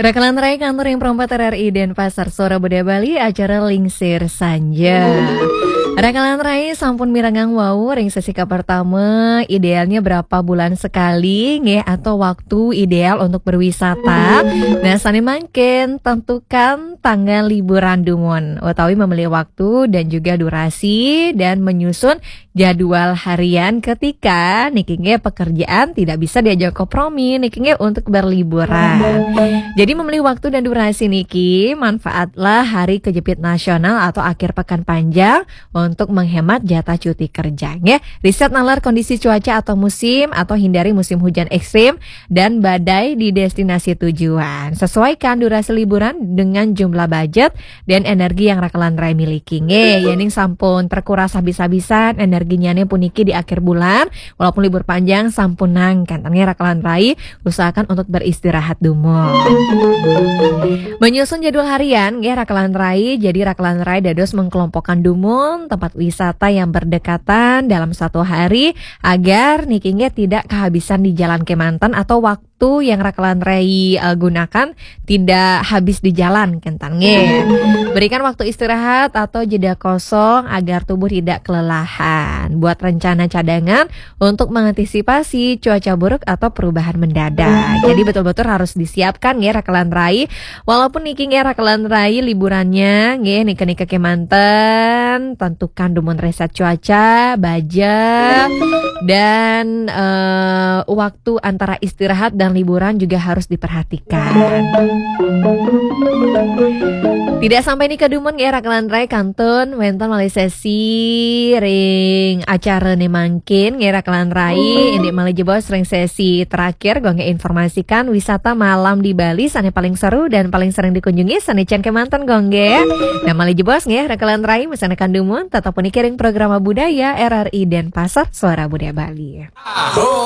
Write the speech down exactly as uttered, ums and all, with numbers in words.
Rakalan rai kantor yang perempat R R I Denpasar, Suara Budaya Bali, acara Lingsir Sanja. Rakalan rai sampun mirengang wau ring sesi kapertama, idealnya berapa bulan sekali, nggih, atau waktu ideal untuk berwisata. Nah, sane mangkin tentukan tanggal liburan dumun, utawi memilih waktu dan juga durasi dan menyusun jadwal harian ketika niki nggih pekerjaan tidak bisa diajak kompromi niki nggih untuk berliburan. Jadi memilih waktu dan durasi niki manfaatlah hari kejepit nasional atau akhir pekan panjang untuk menghemat jatah cuti kerja nggih. Riset nalar kondisi cuaca atau musim atau hindari musim hujan ekstrim dan badai di destinasi tujuan. Sesuaikan durasi liburan dengan jumlah budget dan energi yang rakalan rai miliki. Nggih, yening sampun terkuras habis-habisan energinya nih puniki di akhir bulan, walaupun libur panjang sampunang, kenten nggih rakalan rai usahakan untuk beristirahat dumun. Menyusun jadwal harian, nggih rakalan rai, jadi rakalan rai dados mengkelompokkan dumun tempat wisata yang berdekatan dalam satu hari agar niki nggih tidak kehabisan di jalan kemanten atau waktu yang rakalan rai eh, gunakan tidak habis di jalan kenten nggih. Berikan waktu istirahat atau jeda kosong agar tubuh tidak kelelahan. Buat rencana cadangan untuk mengantisipasi cuaca buruk atau perubahan mendadak. Jadi betul-betul harus disiapkan nggih rakalan rai. Walaupun niki nggih rakalan rai liburannya nggih nika-nika kemanten, tentukan dumun riset cuaca, budget, dan eh, waktu antara istirahat dan liburan juga harus diperhatikan. Tidak sampai nika dumun nggih rakalan rai kantun wenten malih sesi ring acara ne mangkin nggih rakalan rai, indik malih jebos ring sesi terakhir gua nggih informasikan wisata malam di Bali sane paling seru dan paling sering dikunjungi sane cen kemanten gua nggih. Nah malih jebos nggih rakalan rai mesenakan dumun tetap puniki ring programa budaya R R I Denpasar Suara Budaya Bali.